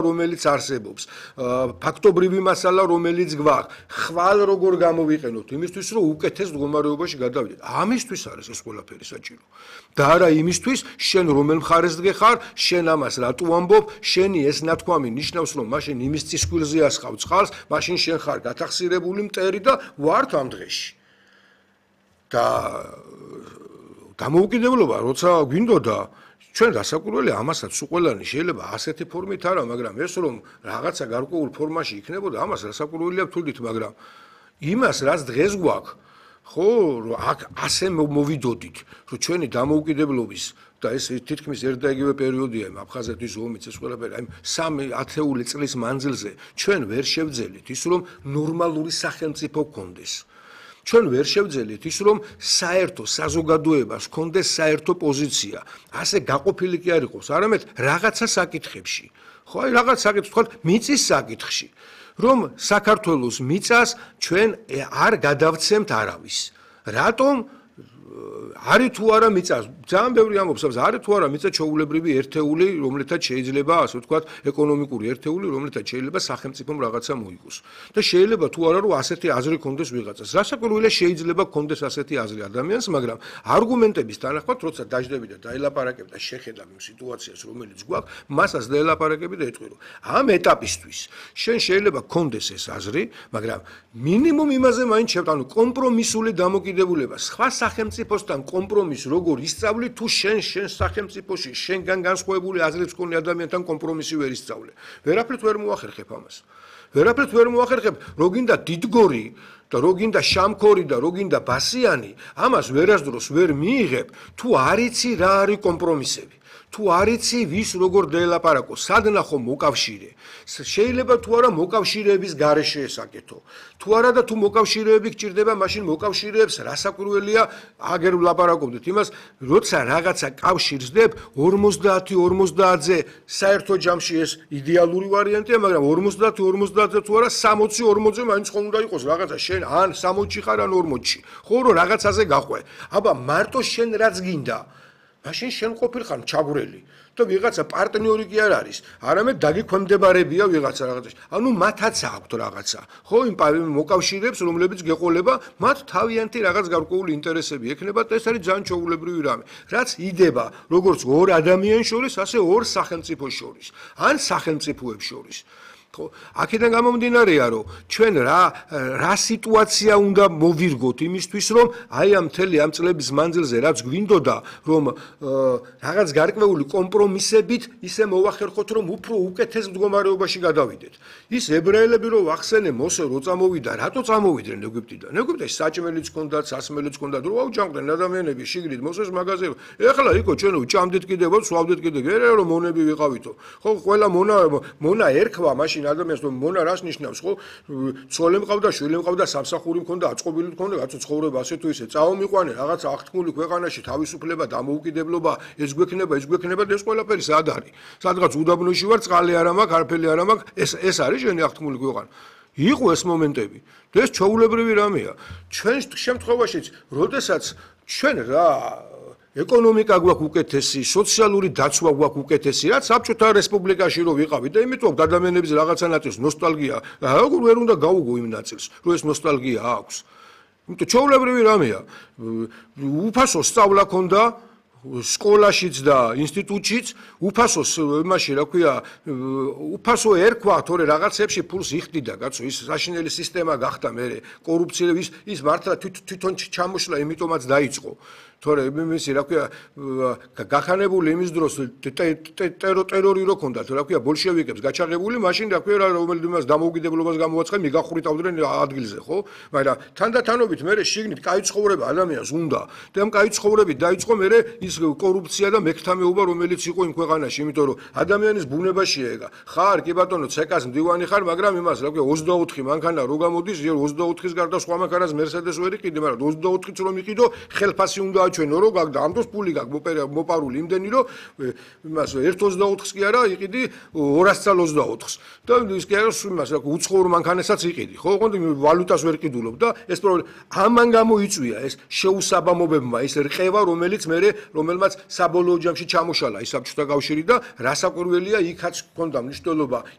რომელიც არსებობს, ფაქტობრივი მასალა, რომელიც გვაქვს, ხვალ როგორ გამოვიყენოთ, იმისთვის, რომ უკეთეს მდგომარეობაში გადავიდეთ. ამისთვის არის ეს ყველაფერი საჭირო. და არა იმისთვის, შენ რომელ მხარეს დგეხარ, შენ ამას რატო ამბობ, შენი ეს ნათქვამი ნიშნავს, რომ მაშინ იმის წისქვილზე ასხავ წყალს, მაშინ შენ ხარ გათახსირებული მტერი და ვართ ამ დღეში. და დამოუკიდებლობა, როცა გვინდოდა ჩვენ გასაკვირველი ამასაც უყველანი შეიძლება ასეთი ფორმით არა, მაგრამ ეს რომ რაღაცა გარკვეულ ფორმაში იქნებოდა, ამას გასაკვირველია ვთვლით, მაგრამ იმას რაც დღეს გვაქვს, ხო, აქ ასე მოვიდოდით, რომ ჩვენი დამოუკიდებლობის და ეს თითქმის ერთ და იგივე პერიოდია იმ აფხაზეთის ომიც ეს ყველაფერი, აი 3-10 წლის მანძილზე ჩვენ ვერ შევძელით ის რომ ნორმალური სახელმწიფო გქონდეს. ჩვენ ვერ შევძელით ის რომ საერთო საზოგადოებას ჰქონდეს საერთო პოზიცია, ასე გაყოფილი კი არ იყოს, არამედ რაღაცა საკითხებში. ხო, აი რაღაც საკითხი, თქვათ, მიწის საკითხში, რომ საქართველოს მიწას ჩვენ არ გადავცემთ არავის. რატომ? არის თუ არა მიწა, ძალიან ბევრი ამბობს, არის თუ არა მიწა ჩვეულებრივი ერთეული, რომლითაც შეიძლება, ასე ვთქვათ, ეკონომიკური ერთეული, რომლითაც შეიძლება სახელმწიფომ რაღაცა მოიგოს. და შეიძლება თუ არა რომ ასეთი აზრი ქონდეს ვიღაცას. რასაკვირველია შეიძლება ქონდეს ასეთი აზრი ადამიანს, მაგრამ არგუმენტების თანახმად, როცა დაждები და დაელაპარაკებ და შეხედავ იმ სიტუაციას, რომელიც გვაქვს, მასაც დაელაპარაკები და ეტყვი, რომ ამ ეტაპისთვის შენ შეიძლება ქონდეს ეს აზრი, მაგრამ მინიმუმ იმაზე მაინც ანუ კომპრომისული დამოკიდებულება სხვა სახელმწიფოსთან კომპრომის როგორ ისწავლი თუ შენ სახელმწიფოში შენგან განსხვავებული აზრებს მქონე ადამიანთან კომპრომისი ვერ ისწავლე. ვერაფრით ვერ მოახერხებ ამას. ვერაფრით ვერ მოახერხებ, რო გინდა დიდგორი და რო გინდა შამქორი და რო გინდა ბასიანი, ამას ვერასდროს ვერ მიიღებ, თუ არ იცი რა არის კომპრომისები. თუ არ იცი ვის როგორ დაელაპარაკო, სად ნახო მოკავშირე. შეიძლება თუ არა მოკავშირეების გარეშე ესაკეთო. თუ არა და თუ მოკავშირეები გჭირდება, მაშინ მოკავშირეებს რასაკვირველია აგერ ვლაპარაკობდეთ იმას, როცა რაღაცა კავშირს დებ 50-50-ზე საერთო ჯამში ეს იდეალური ვარიანტია, მაგრამ 50-50-ზე თუ არა 60-40-ზე მაინც ხომ უნდა იყოს რაღაცა შენ ან 60-ში ხარ ან 40-ში. ხო რომ რაღაცაზე გაყვე. აბა მარტო შენ რაც გინდა მაშინ შენ ყოფილხარ ჩაგვრელი და ვიღაცა პარტნიორი კი არ არის, არამედ დაგიქვემდებარებია ვიღაცა რაღაცაში. ანუ მათაც აქვთ რაღაცა. ხო, იმ მოკავშირეებს, რომლებიც გეყოლება, მათ თავიანთი რაღაც გარკვეული ინტერესები ექნებათ და ეს არის ძალიან ჩვეულებრივი რამე. რაც იდება როგორც ორ ადამიანს შორის, ასე ორ სახელმწიფოს შორის, ან სახელმწიფოებს შორის. ხო, აქედან გამომდინარეა, რომ ჩვენ რა სიტუაცია უნდა მოვირგოთ იმისთვის, რომ აი ამ მთელი ამ წლების მანძილზე რაც გვინდოდა, რომ რაღაც გარკვეული კომპრომისებით ისე მოვახერხოთ, რომ უფრო უკეთეს მდგომარეობაში გადავიდეთ. ის ებრაელები რო ვახსენე, მოსე რო წამოვიდა, რატო წამოვიდნენ ეგვიპტიდან? ეგვიპტეში საჭმელიც ჰქონდათ, სასმელიც ჰქონდათ, რო აუჯანყდნენ ადამიანები შიგნით მოსეს მაღაზიებში. ეხლა იქო ჩვენ ვჭამდით კიდევ, სვავდით კიდევ, ერე რომ მონები ვიყავითო. ხო, ყველა მონა ერქვა მაშინ ადამიანს რომ მონა რას ნიშნავს, ხო? ცოლი მყავდა, შვილი მყავდა, სამსახური მქონდა, აწყობილი მქონდა, კაცო ცხოვრება ასე თუ ისე წაომიყვანე, რაღაცა აღთქმული ქვეყანაში თავისუფლება, დამოუკიდებლობა, ეს გვექნება და ეს ყველაფერი სად არის? სადღაც უდაბნოში ვარ, წყალი არ მაქვს, არაფერი არ მაქვს, ეს არის შენი აღთქმული ქვეყანა. იყო ეს მომენტები. და ეს ჩვეულებრივი რამეა. ჩვენ შემთხვევაშიც, როდესაც ჩვენ ეკონომიკა გვაქვს უკეთესი, სოციალური დაცვა გვაქვს უკეთესი, რაც საბჭოთა რესპუბლიკაში რო ვიყავით და იმიტომ ადამიანების რაღაცა ნაწილს ნოსტალგია, როგორ ვერ უნდა გაუგო იმ ნაწილს, რომ ეს ნოსტალგია აქვს. იმიტომ ჩვეულებრივი რამეა. უფასო სწავლა ქონდა სკოლაშიც და ინსტიტუტშიც, უფასო იმაში, რა ქვია, უფასო ერქვა, თორე რაღაცებში ფულს იხდიდა, კაცო, ის საშინელი სისტემა გახდა მე, კორუფცია ის მართლა თვითონ ჩამოშლა, იმიტომაც დაიწყო. თორე იმისი, რა ქვია, გახანებული იმის დროს ტერორი რო ქონდათ, რა ქვია, ბოლშევიკებს გაჩაღებული, მაშინ რა ქვია, რომელიმას დამოუკიდებლობას გამოაცხადნენ, მიგახურიტავდნენ ადგილზე, ხო? მაგრამ თანდათანობით მე შიგნით კაი ცხოვრება ადამიანს უნდა. და ამ კაი ცხოვრებით დაიწყო მე ის კორუფცია და მექთამეობა, რომელიც იყო იმ ქვეყანაში, იმიტომ რომ ადამიანის ბუნებაშია ეგა. ხარ, კი ბატონო, ცეკას მდივანი ხარ, მაგრამ იმას, რა ქვია, 24 მანქანა რო გამოდის, 24-ის გარდა სხვა მანქანას მერსედეს ვერ იყიდე, მაგრამ 24-იც რომ იყიდო, ხელფასი უნდა ჩვენო რო გაგდა ამ დროს პული გაქვს მოპარული იმდენი რომ იმას 1.24-ს კი არა იყიდი 224-ს და ის კი არა იმას რა უცხოურ მანქანასაც იყიდი ხო ოღონდ ვალუტას ვერ ყიდულობ და ეს პრობლემა ამან გამოიწვია ეს შეუსაბამობებმა ეს რყევა რომელიც მე რომელმაც საბოლოო ჯამში ჩამოშალა ის საბჭოთა კავშირი და რასაკვირველია იქაც ჰქონდა მნიშვნელობა